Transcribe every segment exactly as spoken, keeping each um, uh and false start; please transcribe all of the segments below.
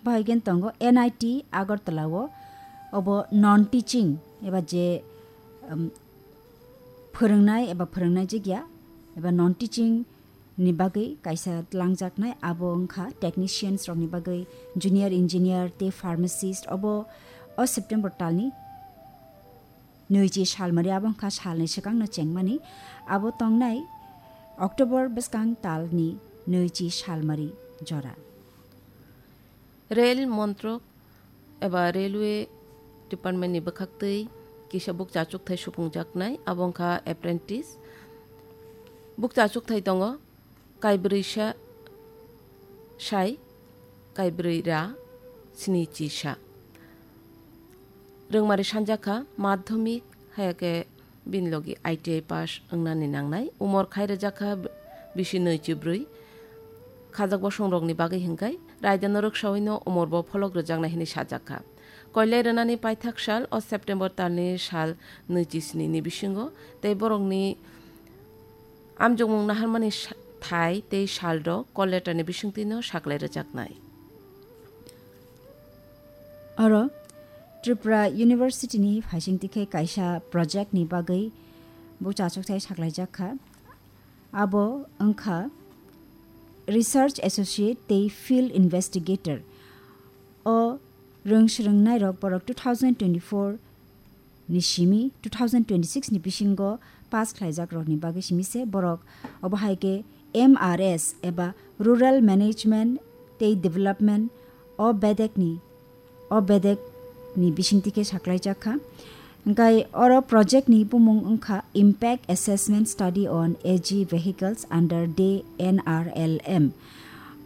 Bahai gen tongo N I T Agartala o, obo non teaching eba je, um, phwrwngnai eba phwrwngnai jigya eba non teaching ni bagwi kaisa tlangjaknai, abo wngkha technicians rokni bagwi junior engineer tei pharmacist. Obo o September talni nwichi salmari, abo wngkha salni swkangno chengmani, abo tongnai October bwskang talni nwichi salmari jora. Rail montrok eba railway department ni bwkhaktwi kisa bukcha achukthai supungjaknai, abo wngkha apprentice. Bukcha achukthai tongo kaibrwi sa sai, kaibrwi ra, sni chi sa. Rwngmari sanjakha madhyamik, hayakhe bini logi I T I pass wngnani nangnai. Umor khai rwjakha bisi nwi chi brwi. Khajak bosongrokni bagwi hwnkhe raidano rwksaui no umor bo pholok rwjaknai hwnwi sajakha. Koilai rwnani paithak sal o September talni sal nwi chi sni ni bisingo tei borokni amjokmung naharmani sa-, thai tei salrok call letter ni bisingtwi no saklai rwjaknai. Oro Tripura University ni phaisingtwi khe kaisa project ni bagwi bukcha achukthai saklaijak kha. Abo wngkha Research Associate tei Field Investigator. O rwng swrwngnairok borok two thousand twenty-four ni simi two thousand twenty-six ni bisingo pass khlaijak rokni bagwi simi se borok obo hai khe M R S eba Rural Management tei Development o bedek ni, o bedek ni bisingtwi khe saklaijak kha. Hwnkhe oro project ni bumung wngkha Impact Assessment Study on A G Vehicles under the N R L M.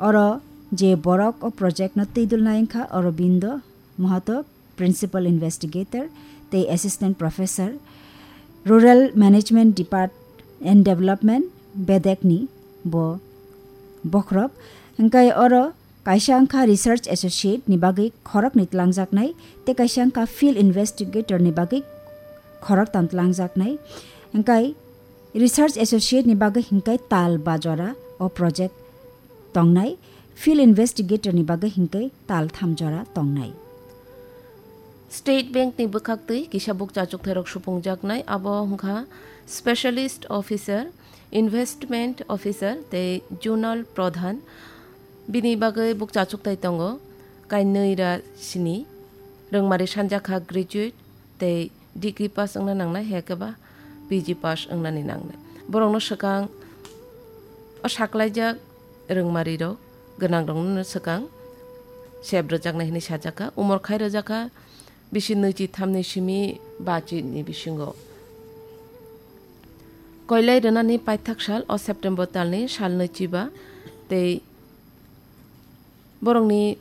Oro je borok o project no twidulnai wngkha Aurobindo Mahato, Principal Investigator tei Assistant Professor, Rural Management Depart and Development, bedek ni bo bokhorok. Hwnkhe oro kaisa wngkha Research Associate ni bagwi khoroknwi tlangjaknai, tei kaisa wngkha Field Investigator ni bagwi khoroktam tlangjaknai. Hwnkhe Research Associate ni bagwi hwnkhe tal ba jora o project tongnai, Field Investigator ni bagwi hwnkhe tal tham jora tongnai. State Bank ni bwkhaktwi kisa bukcha achukthai rok supungjaknai, abo wngkha Specialist Officer, Investment Officer tei Zonal Pradhan. Bini bagwi bukcha achukthai tongo kainwi ra sini, rwngmari sanjakha graduate tei degree pass wngna nangnai, hai khe ba P G pass wngnani nangnai. Borokno swkang o saklaijak rwngmarirok gwnangrokno swkang sep rwjaknai hwnwi sajakha. Umor khai rwjakha bisi nwichi thamni simi bachi ni bisingo. Koilai rwnani paithak sal o September talni sal nwichi ba tei borokni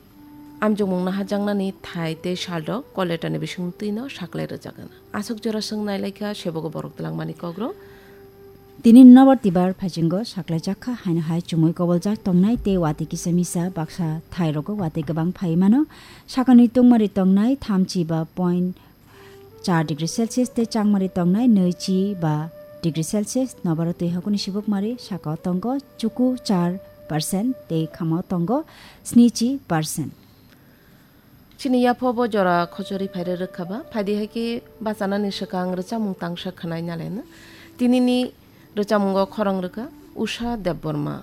amjokmung naharjaknani thai tei salrok call letter ni bisingtwino saklai rwjakgana. Aswk jora swng nailaikha sebogo borok twlangmani kokrok. Tini nobar tibar phaisingo saklaijakha haino hai chumui koboljak tongnai tei watwi kisa misa baksa thairogo watwi kwbang phaiwi mano. Sakani tungmari tongnai thamchi ba point char degree Celsius tei changmari tongnai nwichi ba degree Celsius. Nobaro twi hakuni sibukmari sakao tongo chuku char percent tei khamao tongo snichi percent. Chini yapho bo jora khochori phaire rwkha ba, phaidi hai khe bachanani swkang rwchapmung tangsa khwnai naleno. Tinini rwchapmungo khorang rwkha Usha Debbarma.